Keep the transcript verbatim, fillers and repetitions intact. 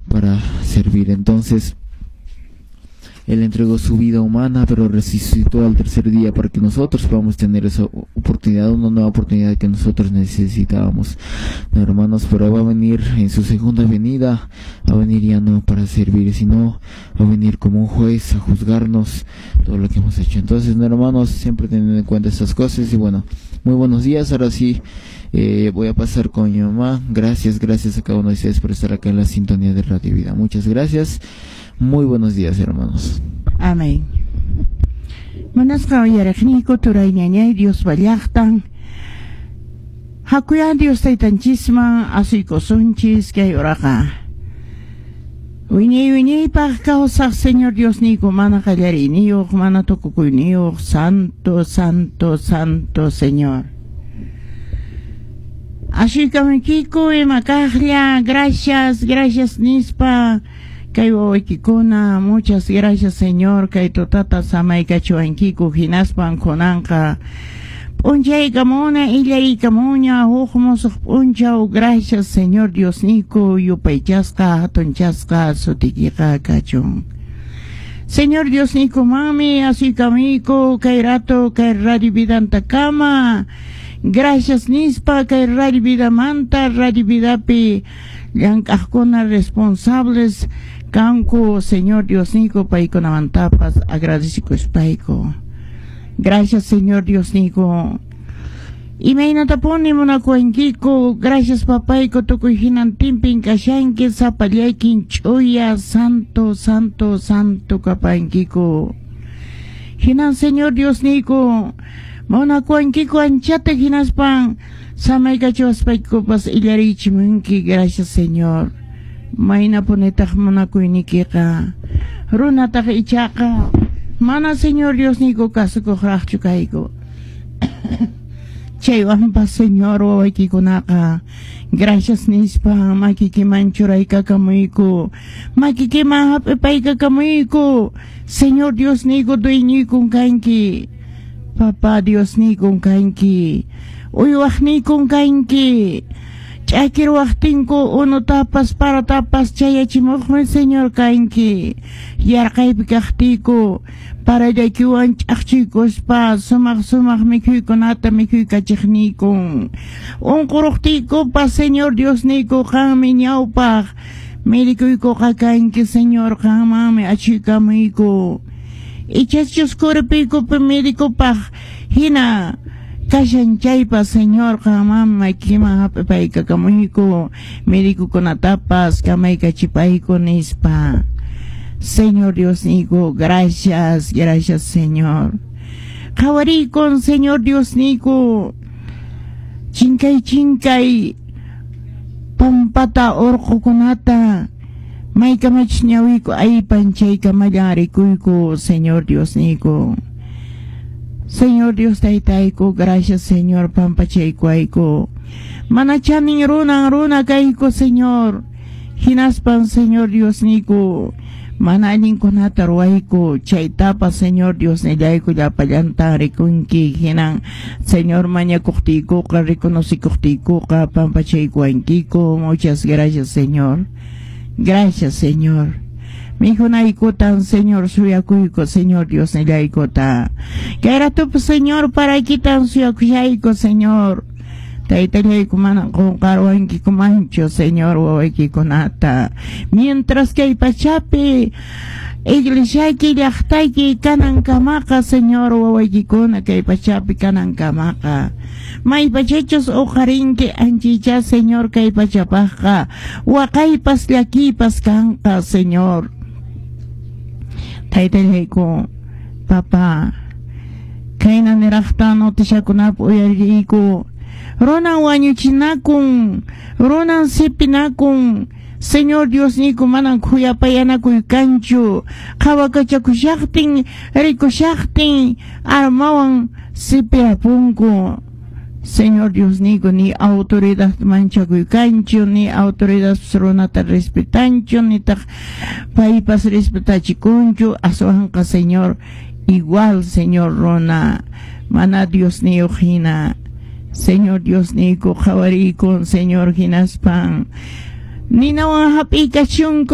para servir. Entonces, Él entregó su vida humana, pero resucitó al tercer día para que nosotros podamos tener esa oportunidad, una nueva oportunidad que nosotros necesitábamos. No, hermanos, pero va a venir en su segunda venida, va a venir ya no para servir, sino va a venir como un juez a juzgarnos todo lo que hemos hecho. Entonces, no, hermanos, siempre teniendo en cuenta estas cosas. Y bueno, muy buenos días. Ahora sí, eh, voy a pasar con mi mamá. Gracias, gracias a cada uno de ustedes por estar acá en la sintonía de Radio Vida. Muchas gracias. Muy buenos días, hermanos. Amén. Munasqa uyariqniyku, turay, ñañay, Dios llaqtan. Hakuyan Dios taytanchisman asuykusunchis kay uraqa. Wiñay wiñaypaq kawsaq Señor Diosniyku, mana qallariyniyuq, mana tukukuyniyuq, santo, santo, santo Señor. Asuykamunkiku ima kaqlla, gracias, gracias nispa kay wawaykikuna, muchas gracias, Señor, kay tutata samaykachiwankiku, hinaspan kunanqa p'unchaykamuna, illariykamuña huk musuq p'unchaw. Gracias, Señor Diosniyku, yupaychasqa hatunchasqa sutiykiqa kachun. Señor Diosniyku, manmi asuykamuyku kay rato kay Radio Vidantakama, gracias nispa kay Radio Vidamanta, Radio Vidapi llank'aqkuna responsables kanku, Señor Diosniyku, paykunamantapas agradecikuspayku. Gracias, Señor Diosniyku. Imaynatapuni munakuwankiku. Gracias, papayku, tukuy hinantinpin kashanki, sapallaykin ch'uya, santo, santo, santo kapankiku. Hinan, Señor Diosniyku, munakuwankiku anchata, hinaspan samaykachiwaspaykupas illarichimunki. Gracias, Señor. Maynapunitaq munakuynikiqa. Runataq ichaqa mana, Señor Diosniyku, kasukuqraqchu kayku. Chaywanpas, Señor, wawaykikunaqa gracias nispa makikiman churaykakamuyku, makikiman hap'ipaykakamuyku. Señor Diosniyku, dueñoykun kanki, Papá Diosniykun kanki, uywaqniykun kanki, ch'akirwaqtinku unutapas paratapas chayachimuqmi Señor kanki, yarqaypi kaqtiyku parallaykiwan ch'aqchuykuspa sumaq sumaq mikhuykunata mikhuykachiqniykun, unquruqtiykupas, Señor Diosniyku, qanmi ñawpaq medicuykuqa kanki, Señor, qanmanmi achuykamuyku. Ichachus kurpiykupi medicupaq hina kashan chaypas, Señor, qanmanmi makiman hap'ipaykakamuyku, medicokunatapas kamaykachipayku nispa. Señor Diosniyku, gracias, gracias, Señor. Qhawariykun, Señor Diosniyku, chinkay chinkay pampata, urqukunata, maykamachus ñawiyku aypan chaykamallan rikuyku, Señor Diosniyku. Señor Dios taytayku, gracias, Señor, pampachaykuwayku. Mana chanin runan runa kayku, Señor. Hinaspan, Señor Diosniyku, mana allinkunata ruwayku, chaytapas, Señor Diosnillayku, llapallanta rikunki. Hinan, Señor, mañakuqtiykuqa, reconocikuqtiykuqa pampachaykuwankiku. Muchas gracias, Señor. Gracias, Señor. Mikhunaykutan, Señor, suyakuyku, Señor Diosnillaykuta. Kay ratupas, Señor, paraykitan suyakushayku, Señor. Taytallayku, mana qunqarwankikumanchu, Señor, wawaykikunata. Mientras kay pachapi iglesiayki, llaqtayki kanankamaqa, Señor, wawaykikuna kay pachapi kanankamaqa. Maypachachus uqarinki anchicha, Señor, kay pachapaqqa waqaypas llakiypas kanqa, Señor. Taytallayku, papá, kayna niraqta notishakunapi uyariyku. Runan wañuchinakun, runan sipinakun. Señor Diosniyku, manan khuyapayanakuy kanchu. Qhawakachakushaqtin, rikushaqtin, armawan sipirapunku. Señor Diosniyku, ni autoridad manchakuy kanchu, ni autoridad runata respetanchu, nitaq paypas respetachikunchu. Aswanqa, Señor, igual, Señor, runa mana Diosniyuq hina. Señor Diosniyku, qhawarikun, Señor, hinaspan ninawan hap'iykachunku.